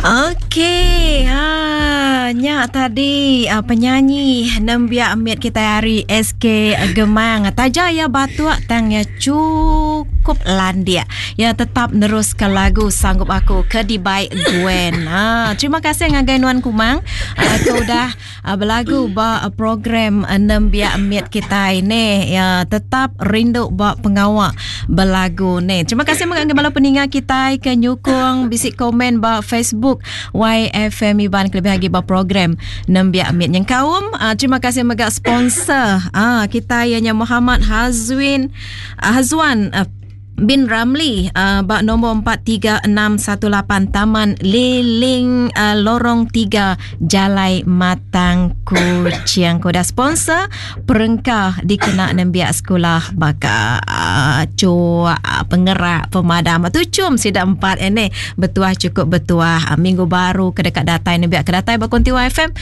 Okey, ha nya tadi penyanyi nembiak mit kitai ari SK Gemang. Taja iya batuk tang iya chukup landik. Iya tetap neruska lagu Sanggup Aku ke dibai Gwen. Ha terima kasih ngagai nuan Kumang ke udah belagu ba program nembiak mit kitai neh. Iya tetap rindu ba pengawa belagu neh. Terima kasih mega ngagai bala peninga kitai ke nyukung bisi komen ba Facebook YFM Iban kelebih agi ba program nembiak mit nyengkaum. Terima kasih mega sponsor kitai iya nya Muhammad Hazwin Hazwan bin Ramli ba nombor 43618 Taman Liling Lorong 3 Jalai Matang Kuching. Ku udah sponsor perengka dikena nembiak sekula baka cuk, pengerak, pemadam. Tuchum sida empat ini betuah chukup betuah. Minggu baru ke deka datai nembiak ke datai ba Konti YFM.